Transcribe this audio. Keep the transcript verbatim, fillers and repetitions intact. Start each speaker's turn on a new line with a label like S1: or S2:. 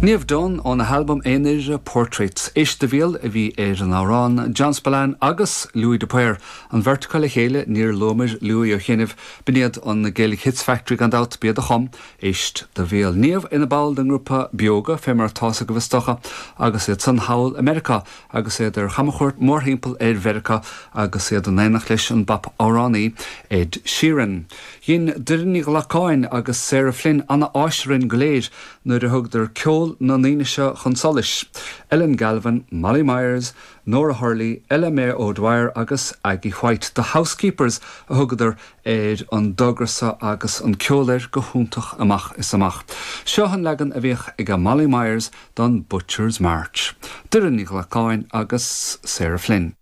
S1: Niamh Dunne óna halbam aonair Portraits Éist do Bhéal a bhí ar an amhrán John Spillane agus Louis de Paor an bheirt acu le chéile níor luamar Louis ó chianaibh b'in iad an Gaelic Hits Factory gan dabht b'iad a chum Éist do Bhéal. Niamh ina ball den ngrúpa Beoga fé mar atá agaibh is dócha agus iad san thall i Meiriceá agus iad ar chamchuairt mórthimpeall ar Mheiriceá agus iad in éineacht leis an bpop-amhránaí Ed Sheeran. Dhein Doireann Ní Ghlacáin agus Sarah Flynn an-áis orainn go léir nuair a thugadar ceol na ndaoine seo chun solais. Ellen Galvin, Molly Myers, Nora Hurley, Ella May O'Dwyer agus Aggie White, The Housekeepers a thugadar ar an dtogra seo agus an ceol air go hiontach amach is amach. Seo an leagan a bhíodh ag Molly Myers don Butcher's March. Doireann Ní Ghlacáin agus Sarah Flynn.